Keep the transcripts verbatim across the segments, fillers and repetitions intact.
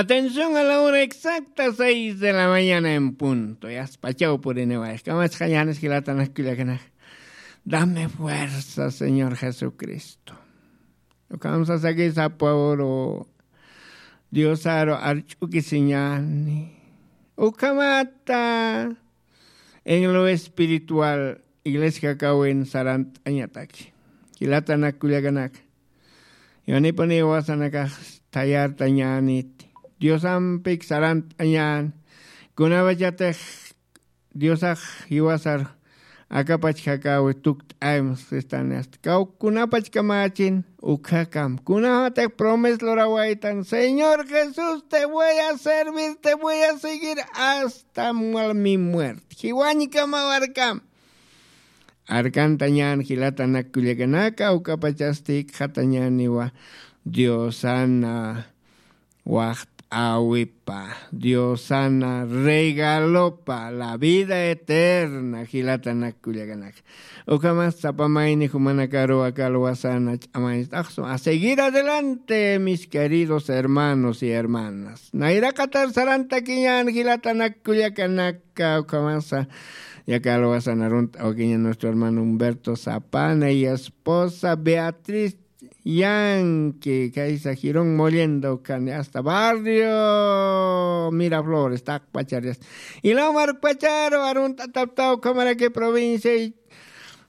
Atención a la hora exacta, seis de la mañana en punto. Yaspachaw puriniwayx. Kamachxañanis jilatanak kullakanaka. Dame fuerza, Señor Jesucristo. Ukham sasakisa Pablo, Diosaru arch'ukisiñani. Ukhamata en lo espiritual iglesia jakawin sarant'añataki. Jilatanak kullakanaka. Iwanipuni wasanakax thayartañäniti. Diosampik sarant'añän. Kunapachatix Diosax jiwasar akapach jakäwi tukt'aymas sistani asta. Kawkkunapach kamächin ukhakamp. Kunapatix promes lurawaytan. Señor Jesús, te voy a servir, te voy a seguir hasta mi muerte. Jiwañkama warkam. Arkantañän jilatanak kullakanaka, ukapachasti ikxatañäniwa Diosana waxt'äwipa, Diosana regalopa, la vida eterna, jilatanak kullakanaka. Ukhamas sapa mayni jumanakaruwa kalwasana ch'amañt'axsu. A seguir adelante, mis queridos hermanos y hermanas. Nayraqatar sarantakiñän jilatanak kullakanaka, ukhamasa ya kalwasan arunt'awakiñän nuestro hermano Humberto Zapana y esposa Beatriz Yanqui, kaysa Girón Mollendo, ukhani hasta barrio Miraflores, taqpachari hasta. Ilaw markpacharu arunt'ataptaw ukhamaraki provincia y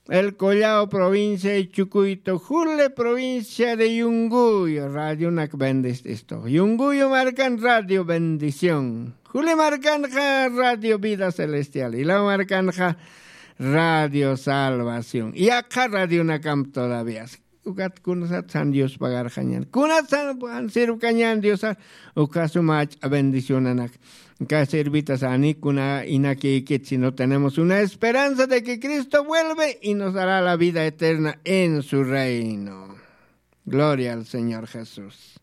El Collao, provincia y Chucuito, Jule, provincia de Yunguyo, radionak bendist'istu. Yunguyo markan Radio Bendición. Jule markanxa Radio Vida Celestial. Ilaw markanxa Radio Salvación. Y aqha radionakamp todavía. Ukat kunasat san Dios pagarxañän. Kunat san sirvkañän Diosar. Uka suma jach'a bendicionanak. Uka sirvitasani kuna inakïkit, sino tenemos una esperanza de que Cristo vuelve y nos dará la vida eterna en su reino. Gloria al Señor Jesús.